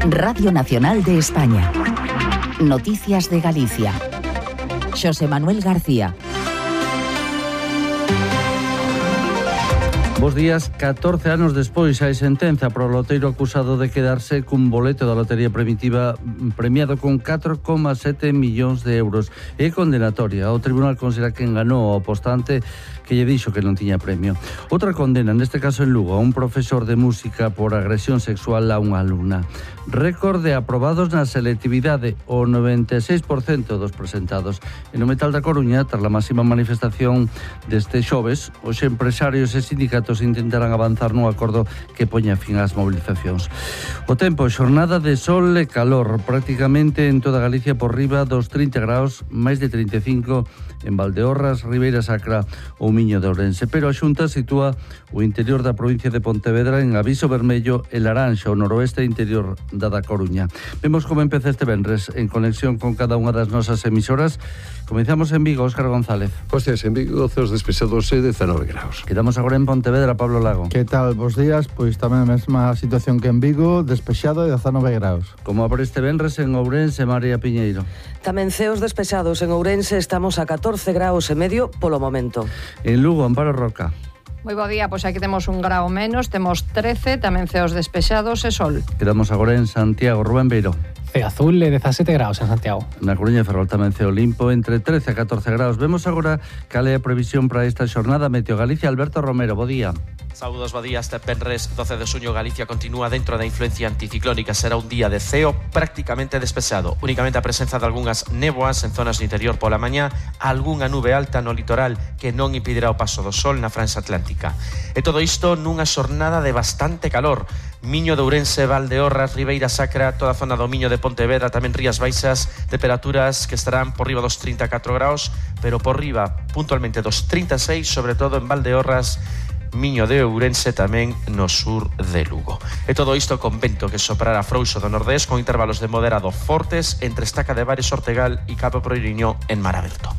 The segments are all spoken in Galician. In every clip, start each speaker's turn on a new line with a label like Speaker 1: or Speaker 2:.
Speaker 1: Radio Nacional de España. Noticias de Galicia. Xosé Manuel García.
Speaker 2: Bos días. 14 anos despois hai sentenza pro loteiro acusado de quedarse cun boleto da lotería primitiva premiado con 4,7 millóns de euros. É condenatoria. O tribunal considera que enganou ao apostante que lle dixo que non tiña premio. Outra condena, neste caso en Lugo, a un profesor de música por agresión sexual a unha alumna. Récord de aprobados na selectividade, o 96% dos presentados. E no Metal da Coruña, tras a máxima manifestación deste xoves, os empresarios e sindicatos intentarán avanzar nun acordo que poña fin ás mobilizacións. O tempo, xornada de sol e calor, prácticamente en toda Galicia por riba dos 30 graus, máis de 35 en Valdeorras, Ribeira Sacra ou Miño de Ourense, pero a Xunta sitúa o interior da provincia de Pontevedra en aviso vermello e laranxa, o noroeste interior da Coruña. Vemos como empeza este venres en conexión con cada unha das nosas emisoras. Comenzamos en Vigo, Óscar González.
Speaker 3: Bos días, en Vigo, ceos despejados e 19 graus.
Speaker 2: Quedamos agora en Pontevedra, Pablo Lago.
Speaker 4: Que tal? Bos días, pois tamén a mesma situación que en Vigo, despexado e 19 graus.
Speaker 2: Como abre este venres en Ourense, María Piñeiro?
Speaker 5: Tamén ceos despexados en Ourense, estamos a 14 graus e medio polo momento.
Speaker 2: En Lugo, Amparo Roca.
Speaker 6: Moi bo día, pois aquí temos un grao menos, temos 13, tamén ceos despexados e sol.
Speaker 2: Quedamos agora en Santiago, Rubén Beiro.
Speaker 7: Ceo azul e 17 graus en Santiago.
Speaker 2: Na Coruña e Ferrol tamén ceo limpo, entre 13 a 14 graus. Vemos agora cal é a previsión para esta xornada. Meteo Galicia, Alberto Romero, bo día.
Speaker 8: Saúdos, bo día. Este venres 12 de xuño Galicia continúa dentro da influencia anticiclónica. Será un día de ceo prácticamente despexado. Únicamente a presenza de algunhas néboas en zonas do interior pola mañá, algunha nube alta no litoral que non impedirá o paso do sol na franxa atlántica. E todo isto nunha xornada de bastante calor. Miño de Ourense, Valdeorras, Ribeira Sacra, toda a zona do Miño de Pontevedra, tamén Rías Baixas, temperaturas que estarán por riba dos 34 graus, pero por riba puntualmente dos 36, sobre todo en Valdeorras, Miño de Ourense, tamén no sur de Lugo. E todo isto con vento que soprará frouxo do nordés con intervalos de moderado fortes entre Estaca de Bares, Ortegal e Cabo Proiriño en mar aberto.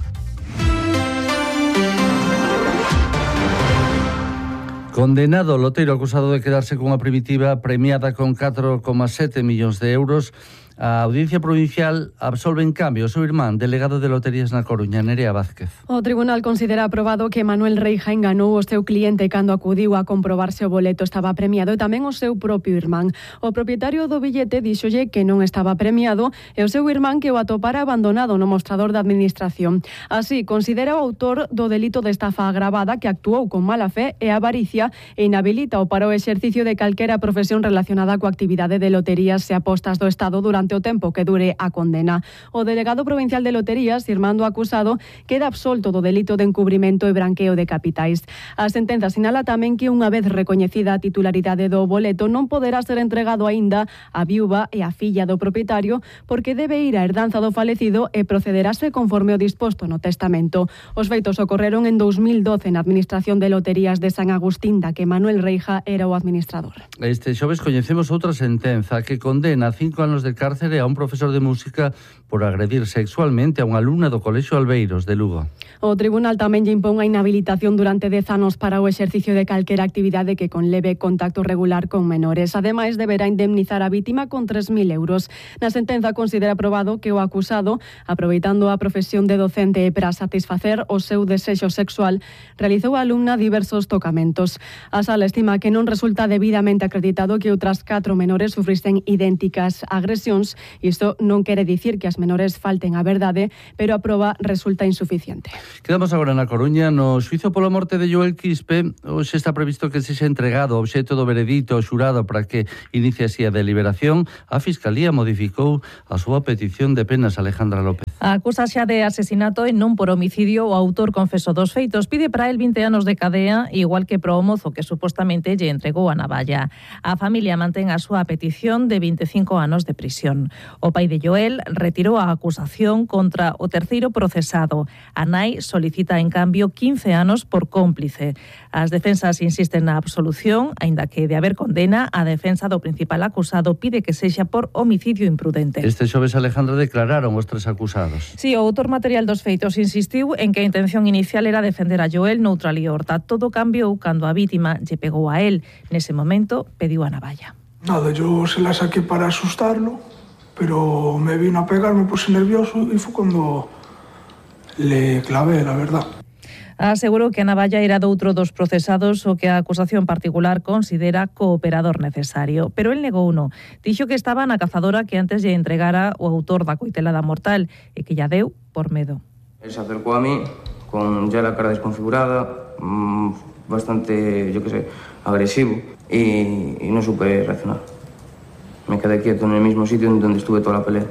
Speaker 2: Condenado o loteiro acusado de quedarse cunha primitiva premiada con 4,7 millóns de euros, a Audiencia Provincial absolve en cambio o seu irmán, delegado de loterías na Coruña, Nerea Vázquez.
Speaker 9: O tribunal considera aprobado que Manuel Reija enganou o seu cliente cando acudiu a comprobar se o boleto estaba premiado e tamén o seu propio irmán. O propietario do billete díxolle que non estaba premiado e o seu irmán que o atopara abandonado no mostrador da administración. Así, considera o autor do delito de estafa agravada que actuou con mala fe e avaricia e inhabilita-o para o exercicio de calquera profesión relacionada coa actividade de loterías e apostas do Estado durante o tempo que dure a condena. O delegado provincial de loterías, irmán do acusado, queda absolto do delito de encubrimento e branqueo de capitais. A sentenza sinala tamén que unha vez recoñecida a titularidade do boleto non poderá ser entregado aínda á viúva e á filla do propietario porque debe ir á herdanza do falecido e procederase conforme o disposto no testamento. Os feitos ocorreron en 2012 na Administración de Loterías de San Agustín, da que Manuel Reija era o administrador.
Speaker 2: Este xoves coñecemos outra sentenza que condena a 5 anos de cárcere a un profesor de música por agredir sexualmente a unha alumna do Colexio Albeiros de Lugo.
Speaker 9: O tribunal tamén lle impón a inhabilitación durante 10 anos para o exercicio de calquera actividade que conleve contacto regular con menores. Ademais, deberá indemnizar a vítima con 3.000 euros. Na sentenza considera aprobado que o acusado, aproveitando a profesión de docente para satisfacer o seu desexo sexual, realizou a alumna diversos tocamentos. A sala estima que non resulta debidamente acreditado que outras 4 menores sufrisen idénticas agresións. Isto non quere dicir que as menores falten a verdade, pero a proba resulta insuficiente.
Speaker 2: Quedamos agora na Coruña. No xuizo pola morte de Joel Quispe, hoxe está previsto que sexa entregado o obxecto do veredito ao xurado para que inicie así a deliberación. A Fiscalía modificou a súa petición de penas. Alejandra López.
Speaker 10: Acusa xa de asesinato e non por homicidio o autor confeso dos feitos. Pide para el 20 anos de cadea, igual que pro mozo que supostamente lle entregou a navalla. A familia mantén a súa petición de 25 anos de prisión. O pai de Joel retirou a acusación contra o terceiro procesado. A nai solicita, en cambio, 15 anos por cómplice. As defensas insisten na absolución, aínda que de haber condena, a defensa do principal acusado pide que sexa por homicidio imprudente.
Speaker 2: Este xoves, Alejandra, declararon os 3 acusados.
Speaker 10: Si, o autor material dos feitos insistiu en que a intención inicial era defender a Joel noutra liorta. Todo cambiou cando a vítima lle pegou a él. Nese momento, pediu a navalla.
Speaker 11: Nada, yo se la saqué para asustarlo, pero me vino a pegar, me puse nervioso y fue cuando le clavé, la verdad.
Speaker 10: Asegurou que a navalla era doutro dos procesados o que a acusación particular considera cooperador necesario. Pero el negou uno. Dixo que estaba na cazadora que antes lle entregara o autor da coitelada mortal e que ya deu por medo.
Speaker 12: Él se acercó a mí con ya la cara desconfigurada, bastante, agresivo y no supe reaccionar. Me quedé quieto en el mismo sitio donde estuve toda la pelea.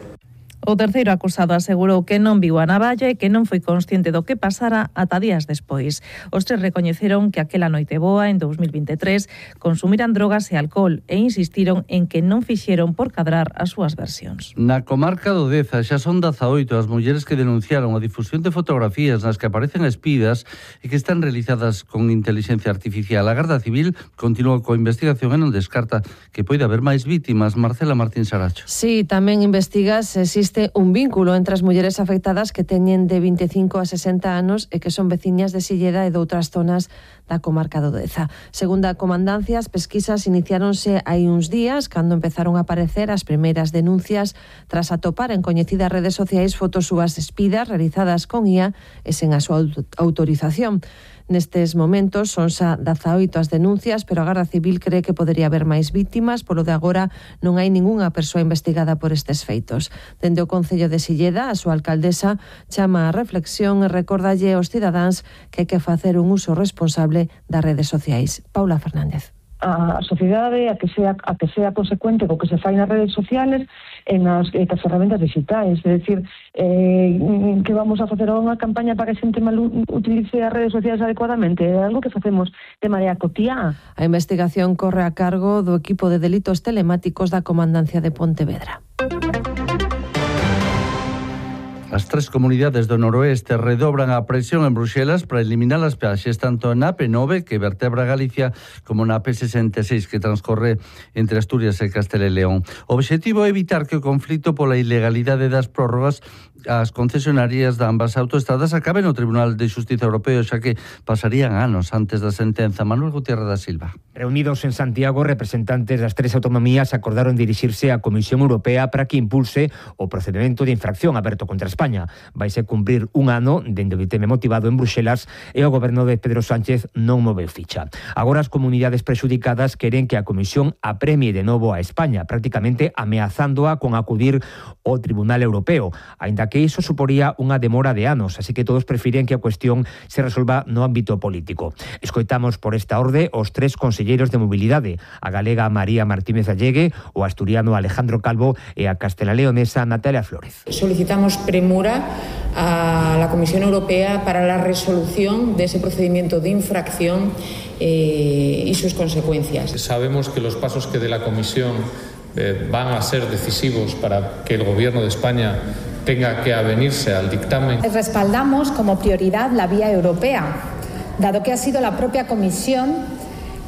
Speaker 10: O terceiro acusado asegurou que non viu a navalla e que non foi consciente do que pasara ata días despois. Os tres recoñeceron que aquela noite boa, en 2023, consumiran drogas e alcohol e insistiron en que non fixeron por cadrar as súas versións.
Speaker 2: Na comarca do Deza xa son 18 as mulleres que denunciaron a difusión de fotografías nas que aparecen espidas e que están realizadas con inteligencia artificial. A Garda Civil continúa coa investigación e non descarta que poida haber máis vítimas. Marcela Martín Saracho.
Speaker 13: Sí, tamén investiga se existe un vínculo entre as mulleres afectadas que teñen de 25 a 60 anos e que son veciñas de Silleda e de outras zonas da comarca do Deza. Segundo a comandancia, as pesquisas iniciáronse hai uns días cando empezaron a aparecer as primeiras denuncias tras atopar en coñecidas redes sociais fotos súas espidas realizadas con IA e sen a súa autorización. Nestes momentos son xa 18 as denuncias, pero a Garda Civil cree que podería haber máis vítimas, polo de agora non hai ningunha persoa investigada por estes feitos. Dende o Concello de Silleda, a súa alcaldesa chama a reflexión e recordalle aos cidadáns que hai que facer un uso responsable das redes sociais. Paula Fernández.
Speaker 14: A sociedade a que sea consecuente co que se fai nas redes sociales e nas ferramentas digitais, é dicir, que vamos a facer unha campaña para que a xente utilice as redes sociales adecuadamente, é algo que facemos de maneira cotiá.
Speaker 13: A investigación corre a cargo do equipo de delitos telemáticos da Comandancia de Pontevedra.
Speaker 2: As tres comunidades do noroeste redobran a presión en Bruxelas para eliminar as peaxes tanto na AP9, que vertebra Galicia, como na AP66, que transcorre entre Asturias e Castela e León. O obxectivo é evitar que o conflito pola ilegalidade das prórrogas as concesionarias de ambas autoestradas acaben no Tribunal de Xustiza Europeo, xa que pasarían anos antes da sentenza. Manuel Gutiérrez da Silva.
Speaker 15: Reunidos en Santiago, representantes das tres autonomías acordaron dirixirse á Comisión Europea para que impulse o procedimento de infracción aberto contra España. Vaise cumprir un ano dende o ditame motivado en Bruxelas e o goberno de Pedro Sánchez non moveu ficha. Agora as comunidades prexudicadas queren que a Comisión apremie de novo a España, prácticamente ameazándoa con acudir ao Tribunal Europeo, aínda que iso suporía unha demora de anos, así que todos prefiren que a cuestión se resolva no ámbito político. Escoitamos por esta orde os tres conselleiros de mobilidade, a galega María Martínez Allegue, o asturiano Alejandro Calvo e a castelaleonesa Natalia Flórez.
Speaker 16: Solicitamos premura a la Comisión Europea para la resolución de ese procedimiento de infracción y sus consecuencias.
Speaker 17: Sabemos que los pasos que dé la Comisión van a ser decisivos para que el Gobierno de España tenga que avenirse al dictamen.
Speaker 18: Respaldamos como prioridad la vía europea, dado que ha sido la propia Comisión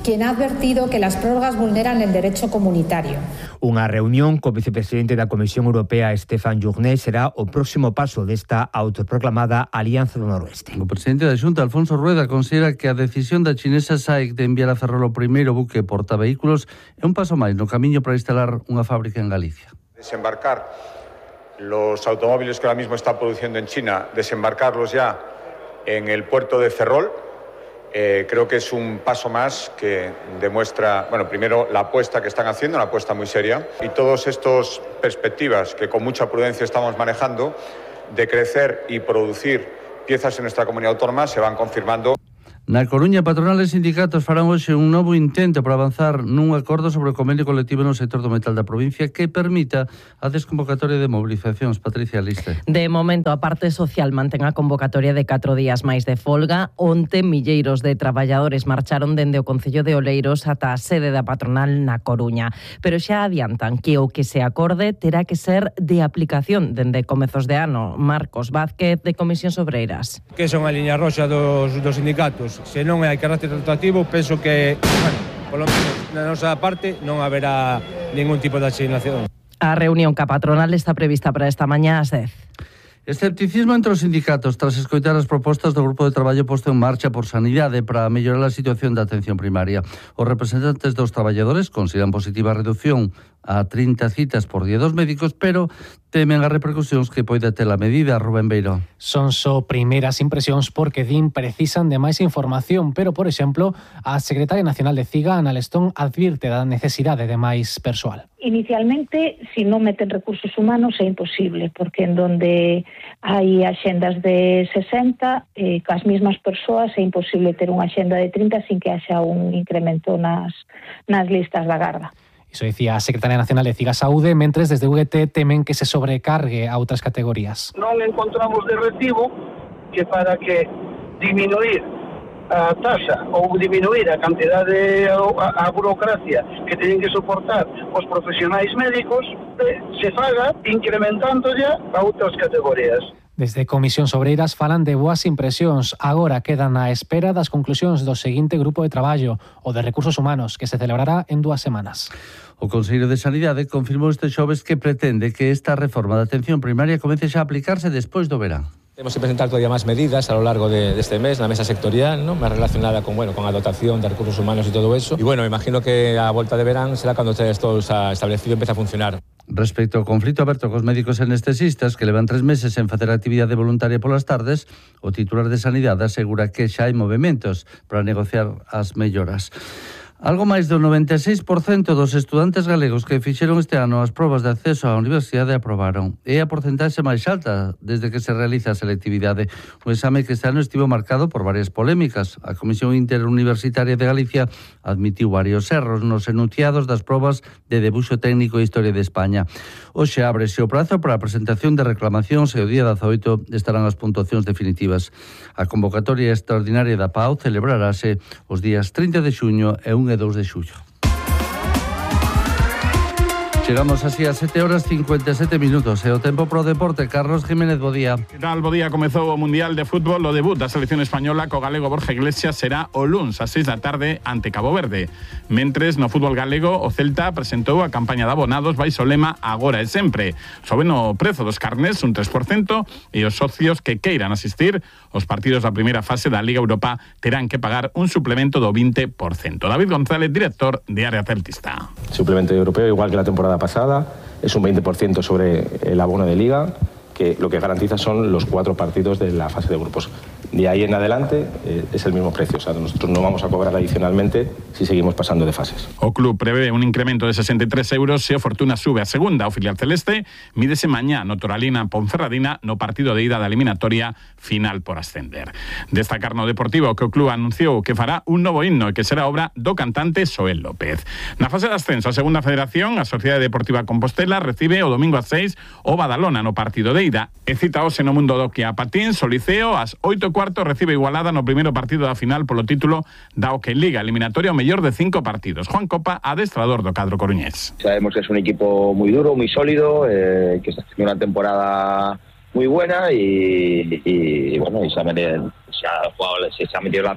Speaker 18: quien ha advertido que las prórrogas vulneran el derecho comunitario.
Speaker 15: Unha reunión co vicepresidente da Comisión Europea, Stefan Journet, será o próximo paso desta autoproclamada Alianza do Noroeste.
Speaker 2: O presidente da Xunta, Alfonso Rueda, considera que a decisión da chinesa SAIC de enviar a Ferrol o primeiro buque portavehículos é un paso máis no camiño para instalar unha fábrica en Galicia.
Speaker 19: Desembarcar los automóviles que ahora mismo está produciendo en China, desembarcarlos ya en el puerto de Ferrol. Creo que es un paso más que demuestra, primero la apuesta que están haciendo, una apuesta muy seria, y todas estas perspectivas que con mucha prudencia estamos manejando de crecer y producir piezas en nuestra comunidad autónoma se van confirmando.
Speaker 2: Na Coruña, patronal e sindicatos farán hoxe un novo intento para avanzar nun acordo sobre o convenio colectivo no sector do metal da provincia que permita a desconvocatoria de movilizacións. Patricia Liste.
Speaker 20: De momento, a parte social mantén a convocatoria de 4 días máis de folga. Onte, milleiros de traballadores marcharon dende o Concello de Oleiros ata a sede da patronal na Coruña. Pero xa adiantan que o que se acorde terá que ser de aplicación dende comezos de ano. Marcos Vázquez, de Comisións Obreiras.
Speaker 21: Que son a liña roxa dos sindicatos. Se non hai carácter tratativo, penso que, polo menos na nosa parte, non haberá ningún tipo de asignación.
Speaker 20: A reunión ca patronal está prevista para esta mañá ás 10.
Speaker 2: Escepticismo entre os sindicatos tras escoitar as propostas do grupo de traballo posto en marcha por Sanidade para mellorar a situación da atención primaria. Os representantes dos traballadores consideran positiva a reducción a 30 citas por día dos médicos, pero temen as repercusións que poida ter a medida. Rubén Beiro.
Speaker 7: Son só primeiras impresións porque din precisan de máis información, pero, por exemplo, a secretaria nacional de CIGA, Ana Lestón, advirte da necesidade de máis persoal.
Speaker 1: Inicialmente, si non meten recursos humanos é imposible, porque en donde hai axendas de 60, cas mesmas persoas é imposible ter unha axenda de 30 sin que haxa un incremento nas listas da garda.
Speaker 7: Iso dicía a secretaria nacional de CIGA Saúde, mentres desde UGT temen que se sobrecargue a outras categorías.
Speaker 22: Non encontramos de recibo que para que diminuir a taxa ou diminuir a cantidade a burocracia que teñen que soportar os profesionais médicos se faga incrementando ya a outras categorías.
Speaker 7: Desde Comisións Obreiras falan de boas impresións. Agora quedan á espera das conclusións do seguinte grupo de traballo, o de Recursos Humanos, que se celebrará en 2 semanas.
Speaker 2: O Consello de Sanidade confirmou este xoves que pretende que esta reforma da atención primaria comece xa a aplicarse despois do verán.
Speaker 23: Tenemos que presentar todavía más medidas a lo largo de este mes, la mesa sectorial, ¿no? Más relacionada con la dotación de recursos humanos y todo eso. Y bueno, imagino que a vuelta de verano será cuando todo está establecido y empiece a funcionar.
Speaker 2: Respecto ao conflito aberto cos médicos anestesistas que levan 3 meses en facer actividade voluntaria polas tardes, o titular de Sanidade asegura que xa hai movementos para negociar as melloras. Algo máis do 96% dos estudantes galegos que fixeron este ano as probas de acceso á universidade aprobaron. É a porcentaxe máis alta desde que se realiza a selectividade. Un exame que este ano estivo marcado por varias polémicas. A Comisión Interuniversitaria de Galicia admitiu varios erros nos enunciados das probas de debuxo técnico e historia de España. Hoxe ábrese o prazo para a presentación de reclamacións e o día 18 estarán as puntuacións definitivas. A convocatoria extraordinaria da PAU celebrarase os días 30 de xuño e 1 e 2 de xullo. Chegamos así a 7:57 minutos. E o tempo pro deporte. Carlos Jiménez, bo día.
Speaker 24: Que tal, bo día? Comezou o Mundial de Fútbol. O debut da selección española co galego Borja Iglesias será o luns ás 6 da tarde ante Cabo Verde. Mentres, no fútbol galego, o Celta presentou a campaña de abonados baixo o lema Agora e sempre. Soben o prezo dos carnés un 3% e os socios que queiran asistir aos partidos da primeira fase da Liga Europa terán que pagar un suplemento do 20%. David González, director de Área Celtista.
Speaker 25: Suplemento europeo, igual que la temporada pasada, es un 20% sobre el abono de liga, que lo que garantiza son los 4 partidos de la fase de grupos. De ahí en adelante es el mismo precio, o sea, nosotros no vamos a cobrar adicionalmente si seguimos pasando de fases.
Speaker 24: O club prevé un incremento de 63 euros se o Fortuna sube a segunda. O filial celeste mídese mañá no Toralina Ponferradina no partido de ida da eliminatoria final por ascender. Destacar no Deportivo que o club anunciou que fará un novo himno e que será obra do cantante Soel López. Na fase de ascenso a segunda federación, a Sociedade Deportiva Compostela recibe o domingo a 6 o Badalona no partido de ida. E cita hoxe no mundo do que a Patíns, o Liceo, ás 8:15 recibe Igualada no primeiro partido da final polo título da Hockey Liga, eliminatoria o mellor de 5 partidos. Juan Copa, adestrador do cadro coruñés.
Speaker 26: Sabemos que es un equipo muy duro, muy sólido, que está haciendo una temporada muy buena y bueno, y se ha metido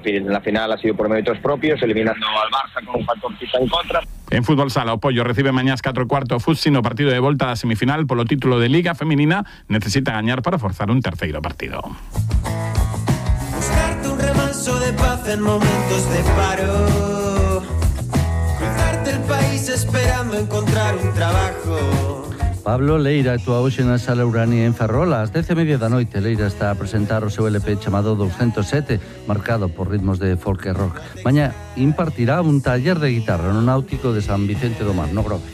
Speaker 26: en la final, ha sido por méritos propios, eliminando al Barça con un factor quizá en contra.
Speaker 24: En fútbol sala, o Pollo recibe mañás 4:15 o Futsi no partido de volta da semifinal polo título de Liga Feminina, necesita gañar para forzar un terceiro partido.
Speaker 27: Buscarte un remanso de paz en momentos de paro, cruzarte el país esperando encontrar un trabajo.
Speaker 2: Pablo Leira actúa hoxe na Sala Urania en Ferrol ás 10:30 da noite. Leira está a presentar o seu LP chamado 207, marcado por ritmos de folk e rock. Mañá impartirá un taller de guitarra no Náutico de San Vicente do Mar, no Grove.